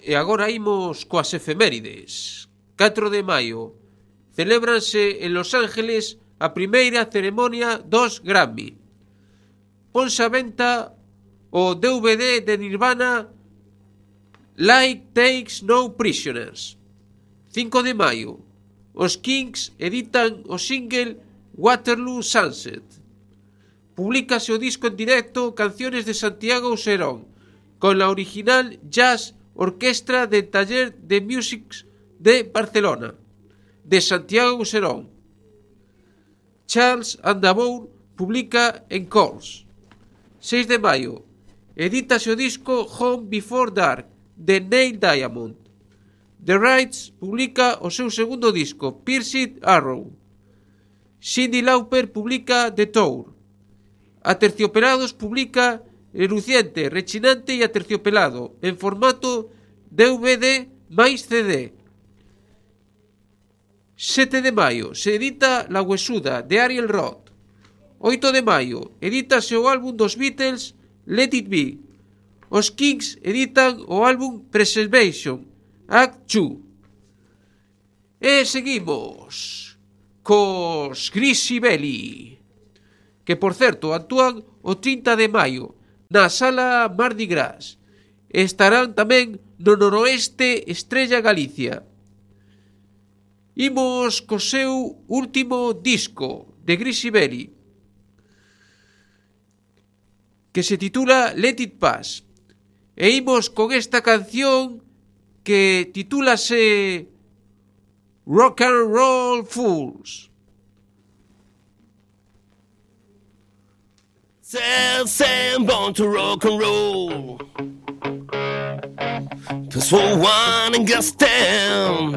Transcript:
E agora imos coas efemérides. 4 de maio celébranse en Los Ángeles a primeira ceremonia dos Grammy. Ponse a venta o DVD de Nirvana Like Takes No Prisoners. 5 de maio os Kings editan o single Waterloo Sunset. Publícase o disco en directo Canciones de Santiago Auserón con la original Jazz Orquestra del Taller de Music de Barcelona de Santiago Auserón. Charles Aznavour publica en Calls. 6 de maio edítase o disco Home Before Dark de Neil Diamond. The Rights publica o seu segundo disco Pierced Arrow. Cyndi Lauper publica The Tour. Aterciopelados publica Reluciente, Rechinante e Aterciopelado en formato DVD máis CD. 7 de maio se edita La Huesuda de Ariel Roth. 8 de maio edítase o álbum dos Beatles Let It Be. Os Kings editan o álbum Preservation Act 2. E seguimos cos Grisi Belli, que por certo actúan o 30 de maio na Sala Mardi Gras. Estarán tamén no Noroeste Estrella Galicia. Imos co seu último disco de Grisi Belli, que se titula Let It Pass. E imos con esta canción que titúlase Rock and Roll Fools. Sam born to rock and roll. Just for one and just stand.